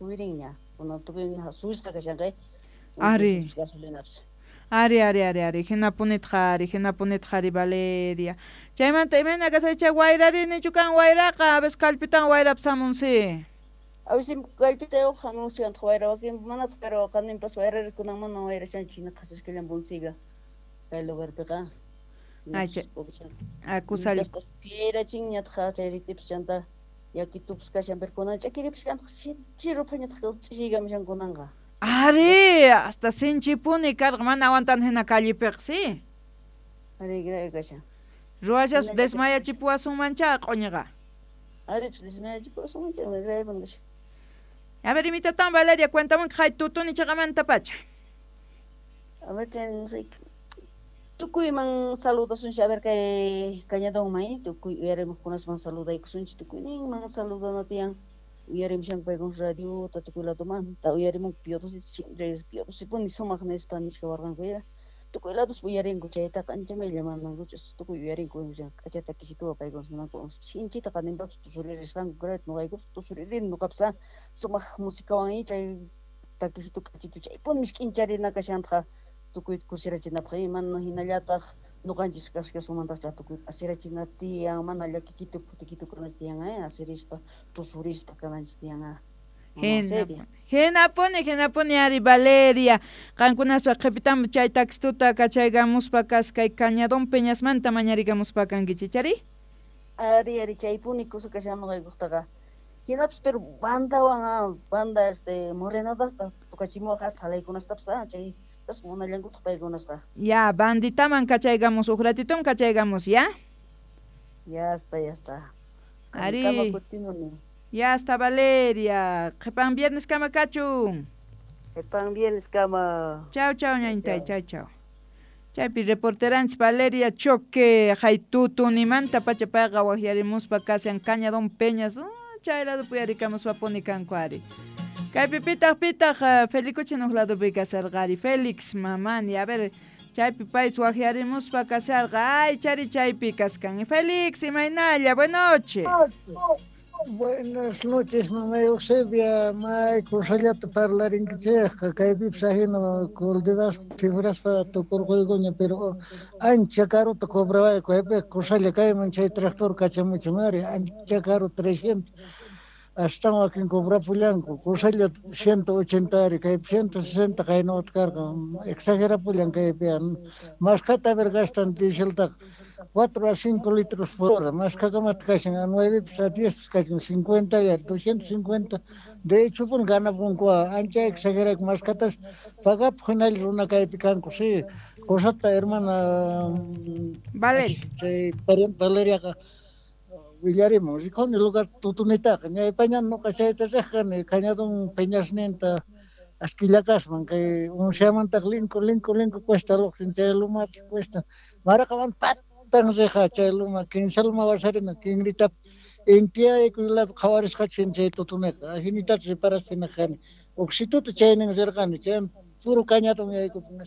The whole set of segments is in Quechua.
Subirinña kunan tukuy subisqa kashanqa. Ari. Gasolinapis. Ari, ari, ari, ari, hinapunitaq ari, hinapunitaq ari, Valeria. Chaymanta imayna kashay wayrari nichu kan wayraqa, a veces kallpitan wayrapas hamunsi. A veces kallpita hamunchikantaq wayra wakin manataq, pero qaninpas wayrari kunan mana wayrashanchu, hina qhasiskallan bunsiga kay lugarpiqa. Ay, chay kusalla. Piyrachinñataq chay ritipis chanta yakitupas kashan, pero kunan ch'akiripis kantaq chiruphañataq ch'ishiykamushan kunanqa. Ari, hasta sinchipuni karqa mana aguantan hina callepiqa, sí. Ari, grave kashan. Ruwashas desmayachipuwasunmancha q'uñiqa. Ari, pues desmayachipuwasunmancha, grave kashan. A ver, imitatan Valeria, cuéntame hay tutuni chiqamanta pacha. A ver, chay tukuyman saludasunchik, a ver kay Cañadonman, tukuy uyarimuqkunasman saludaykusunchik, tukuyninman saludana tiyan. Uyarimushanku paykuna radiota tukuy ladomanta uyarimunku Piodosi, siempre Piodosipuni sumaq nispa nishka warqanku ya. Tukuy lados uyarinku chaytaqa ancha maylla mandankuchus tukuy uyarinku k'acha takisituwa paykuna munanku sinchita qaninpapas tusuririsqanku grave nuqaykupas tusuririni nuqapas sumaq musikawan chay takisitu k'achitu chaypuni misk'incharina kashantaqa tukuy kusirachinapaq mana hinallataq nuqanchis kaskasunmantaq tukuy asirachina tiyan mana llakikitu phutikitu kananchis tiyan asirispa tusurispa kananchis tiyan. Hinapuni, hinapuni ari Valeria, qankunaspa qhipitam chay taxistuta kachaykamuspa kaskay Cañadón Peñasmanta mañarikamuspa kankichik, chari? Ari, ari, chaypuni kusa kashan nuqaykuktaqa. Hinapis pero bandawan banda morenadasta tukachimuwaqa salaykunastapas chay tas munallankutaq paykunasqa. Ya, banditaman kachaykamus, huk ratitum kachaykamus, ya? Ya está, ya está. Ari. Ya está, Valeria. Qhipan viernes kama kachun. Qhipan viernes kama. Chao, chao, ñañitay, chao, chao. Chaypi reporteranchis Valeria Choque, haytutunimanta pacha payqa waqyarimuspa kashan Cañadón Peñas, chay lado puyarikamuspa puni kanku ari. Kaypi pitaq pitaq Felicuchi nuq ladopi kasharqari, Félix Mamani, a ver, chaypi pay waqyarimuspa kasharqa, ay chari chaypi kaskan. Félix, imaynalla, buenas noches. Buenas noches, mamá Eusebia, may kusallata parlarinkichikqa, kaypipas ajina Coldevas cifraspa tukurquykuña, pero ancha karuta cobrawayku, kaypi kusalla kayman chay tractor kachamuchun ari, ancha karu 300 astawan wakin cobrapullanku, kusalla 180 ari, kaypi 160 qaynawata karqa, exagerapullan kaypi, mashkhata a ver gastan dieseltaqa 4 a 5 litros por hora, mashkhakamata kashan, a 9 a 10 kashan, 50 y 250, de hecho pun ganapunku, ancha exagerayku, mashkhatas pagapuq hinalla runa kaypi kanku, sí, cosata hermana Valeria. Chay pariente Valeriaqa willarimun, rikuni lugar tutunitaqa, ñaypaña nuqa chayta riqkani, Cañadón Peñasninta Asquillacasman, kay unsiamantaq linku, linku, linku cuesta luqsin, chay lumata cuesta, maraqaman patan riqa chay luma, kinsa luma wasarina, kinritap intiyaykuy lado qhawarisqachin chay tutuniqa, ajinitata reparaspa hina kani, uqsituta chaynin rirqani, chay puro Cañadón yaykupun,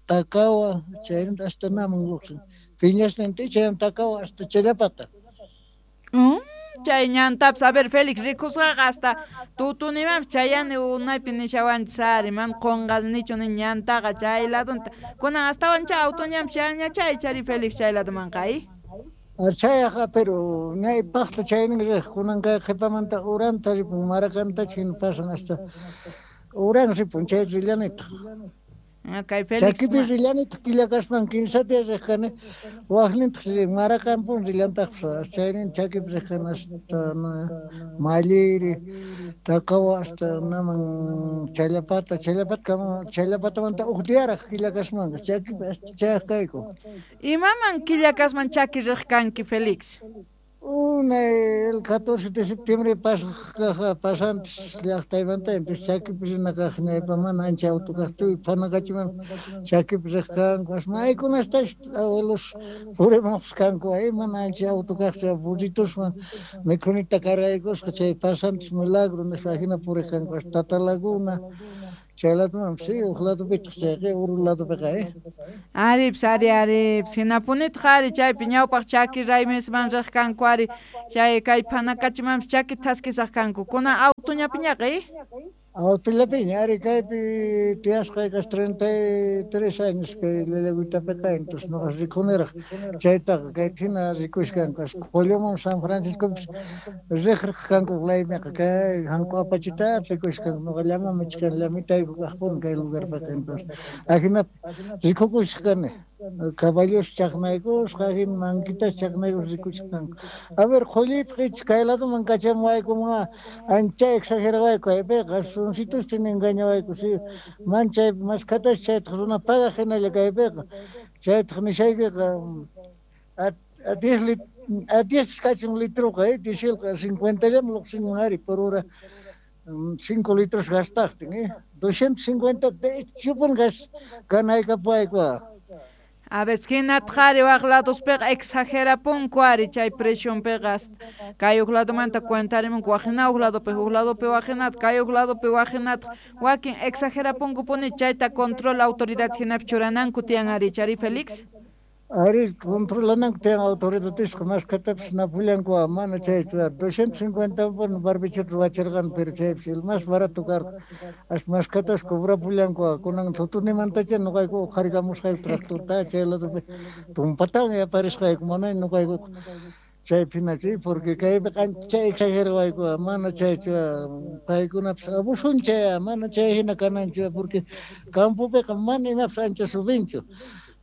Takawa, chayninta hasta naman luqsin, Peñasninta chayan Takawa hasta Challapata. Chay ñantapas, a ver, Félix, rikusqaqa hasta tutunimanpas chayani unaypi nishawanchis ari, mana qunqanichu ni ñantaqa chay ladunta. Kunan astawan chay auto ñanpas chayanña chay chari Félix chay ladumanqa, ay? Chayqa, pero ñaypaqta chaynin riq, kunan kay qhipamanta uranta ripun, Maracanta hina pasan hasta uran ripun, chay rillanitaq. Kay Félix Chakipi rillanitaq killakaspan kinsa diya riqkani, waqnintaq Maracampun rillantaqpas, chaynin chakipi riqkani hasta Malliri, Takawa hasta naman Challapata, Challapata, Challapatamanta huk diyaraq killakasmanqa, chakipi hasta chayaq kayku. Imaman killakasman chaki riq kanki, Félix? Unay el 14 de septiembre pasantes llaqtaymanta, entonces chakipi rina kaq ñaypa mana ancha auto kaqtuy phanakachiman chakipi riq kanku, maykunastash abuelos purimuqpas kanku, ay mana ancha auto kaqchu, burritosman mikhunita cargaykusqa chay pasantes milagro nispa ajina puriq kanku, hasta Tata Laguna, Chay ladumanpis huk ladupitaq chayqa uru ladupiqa Aripis ari aripis hinapunitaq ari chaypi ñawpaq chaki raymisman riq kanku ari chay kay phanakachimanpis chaki thaskisaq kanku kunan autuñapiñaqa Autollapiña ari kaypi tiyasqay casi 33 años kay Llallagüitapiqa entonces nuqa rikuniraq chaytaqa kayta hina rikushkanku Qulluman San Franciscopis riq riq kanku laymiqa kay hanku apachita rikushkanku nuqa llama michkan llamitayku kaqpuni kay lugarpiqa entonces ajinapi rikukushaq kani caballos chaqnaykusqa hina manquitas chaqnaykus rikushkanku. A ver qullipaq icha kay laduman kachamuwaykuman ancha exagerawayku kaypiqa sunsitus engañawayku si man chaypi maskhatas chaytaq runa pagaq hinalla kaypiqa chaytaq nishaykiqa a 10 kachun litroqa dieselqa 50 llaman lluqsinman ari por hora 5 litros gastaqtin 250 de hecho gas ganaykapuwayku. A veces hinataq ari waq ladospiqa exagerapunku ari chay presionpiqa kay huk ladomanta cuentarimunku waqhina huk ladopi huk ladopi waqhinata kay huk ladopi waqhinataq wakin exagerapunkupuni chayta control autoridades hinapi churananku tiyan ari chari Félix. Ari controlananku tiyan autoridadesqa maskhatapis napullanku mana chaychu 250 puni barbichota ruwachirqani pero chaypis el más barato karqa hasta maskhatas cobrapullanku kunan tutunimantacha nuqayku uqharikamusqayku tractorta chay ladopi tumpatan yaparisqayku mana nuqaykuqa chaypi hinachu porque kaypiqa ancha exagerawayku mana chaychu paykunapis abusuncha mana chay hina kananchu porque campopiqa mana imapis ancha subinchu.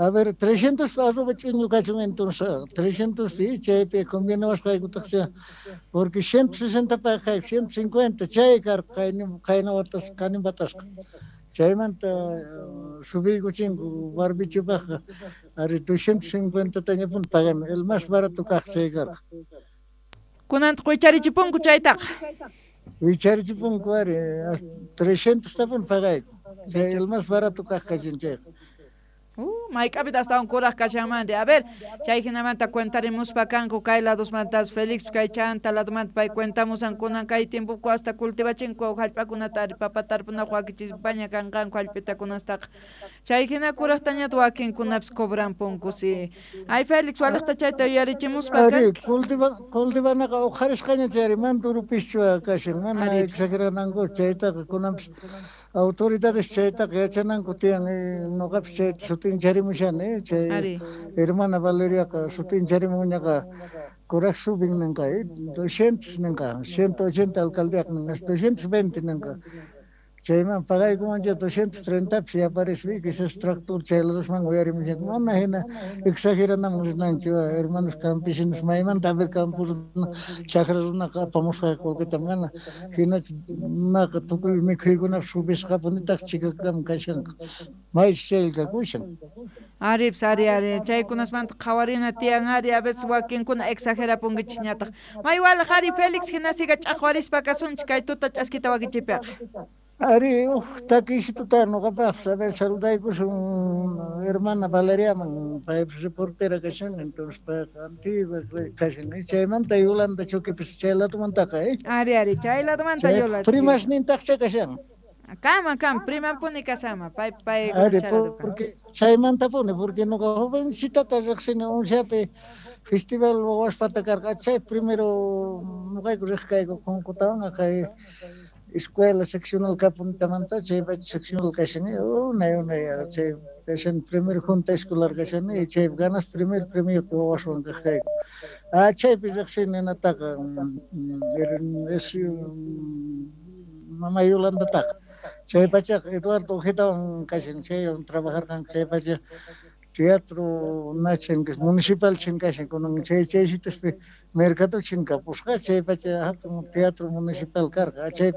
A ver, 300 arroba ch'uñu kachun entonces 300 pi chaypi conviene porque 160 paqayku 150 chay karqa qayna watas kaninpatasqa chaymanta subiykuchinku barbichupaqqa ari 250 tañapuni pagani el más barato kaq chay karqa. Kunantaq wicharichipunku chaytaqa. Wicharichipunku ari 300 tapuni pagayku chay el más barato kaq kachin chayqa. Mayk'apita astawan kuraq kashanmanri. A ver, chay hinamanta cuentarimuspa kanku kay ladosmantas Félix kay chanta ladomanta pay cuentamusan kunan kay tiempoku hasta cultivachinku hallp'akunata ari papa tarpunaq wakichispaña kanqanku hallp'itakunastaqa. Chay hina kuraqtañata wakinkunapis cobranpunku si. Ay Félix waliqta chayta yuyarichimuspa Ari cultivanaqa uqharisqaña chayri mana turupischu kashan mana exagerananku chaytaqa kunanpis autoridades chaytaqa yachananku tiyan nuqapis chayta sutincharimushani chay hermana Valeriaqa sutincharimunñaqa kuraq subin ninqa 200 ninqa 180 alcaldiaq ninqa 220 ninqa chayman pagaykumancha 230 pis yaparispi quizás tractor chay ladosman uyarimushanku mana hina exageranaman rinanchu hermanos campesinos maymanta a ver campo runa chakra runaqa apamusqa qullqita mana hinachu naqa tukuy mikhuykunapis subisqapunitaq chikakama kashanqa maychu chaylla kakushan. Aripis ari ari chaykunasmanta qhawarina tiyan ari a veces wakinkuna exagerapunkichikñataq. May waliq ari Félix hinasiqa ch'aqwarispa kasunchik kay tuta ch'askita wakichiypiqa. Ari huk takisituta nuqapaqpis a ver saludaykusun hermana Valeriaman paypis reportera kashan entonces payqa antigua kashan chaymanta Yolanda Choquepis chay ladomantaqa Ari ari chay ladomanta Yolanda. Primasnintaqcha kashan. Kama kam primapuni kasama pay pay Ari porque chaymantapuni porque nuqa jovencitata riqsini unshapi festival wawaspata karqa chay primero nuqayku riq kayku qunqutawan kay escuela seccional kapuntamanta chay pacha seccional kashani unay unay chay kashan primer junta escolar kashani chay ganas primer premio wawaswan kaq kayku chaypi riqsini nataqa es mama Yolandataqa chay pachaqa Eduardo Ojetawan kashan chaywan trabajarqanku chay pacha teatro nachan municipal chinkashan kunan chay chaysituspi mercado chinkapusqa chay pacha hatun teatro municipal karqa chay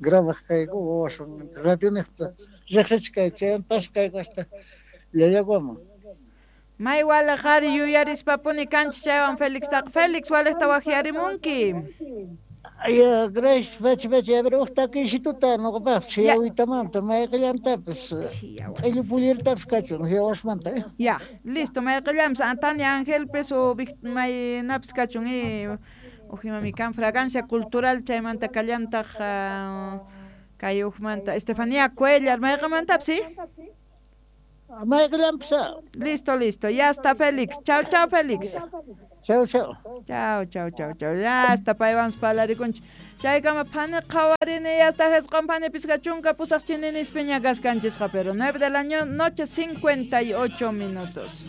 grabaq kayku wawaswan radioniqta riqsichik kayku chaywan pasaq kayku hasta Llallaguaman. May waliq ari yuyarispapuni kanchik chaywan Félixtaqa. Félix waliqta waqyarimunki. Ya, gracias, pachi pachi. A ver, huk takisituta nuqapaqpis hiyawitamanta mayqillantapis q'illu pullertapis kachun hiyawasmanta. Ya, listo, mayqillanpis Tania Angelpis o maynapis kachun ujimami kan fragancia cultural chaymanta kallantaq Kay ujmanta Estefanía Cuellar, mayqamantapsi? Mayqillanpis. Listo, listo. Ya está Félix. Chao, chao, Félix. Chao, chao. Chao, chao, chao, chao. Ya está paywanpas parlarikunchik. Chaykama phani qhawarini, ya está hesqon phani pisqa chunka pusaq chininispiña kasqanchisqa, pero 9 de la noche 58 minutos.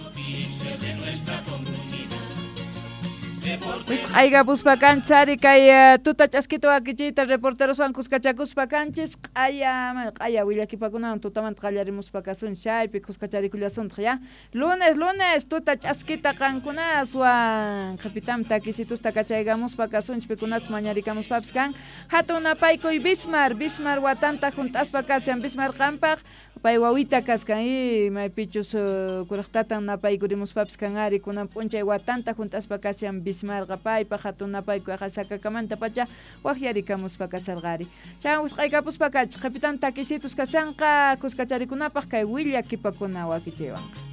Wisq'aykapuspa kanchari kay tuta ch'askita wakichiyta reporteroswan kuskachakuspa kanchis q'aya q'aya willakipakunawan tutamanta qallarimuspa kasunchis chaypi kuskacharikullasuntaq ya. Lunes, lunes tuta ch'askita qankunaswan qhipitam takisitusta kachaykamuspa kasunchis pikunachus mañarikamuspapis kan. Hatun napaykuy Bismar, Bismar watanta hunt'aspa kashan Bismar qampaq pay wawita kaskan y maypichus kuraqtatan napaykurimuspapis kan ari kunan p'unchay watanta hunt'aspa kashan Bismarqa paypaq hatun napaykuy sakakamanta pacha waqyarikamuspa kasarqari. Chay wisq'aykapuspa kachik qhipitan takisitus kashanqa kuskacharikunapaq kay willakipakuna wakichiywanqa.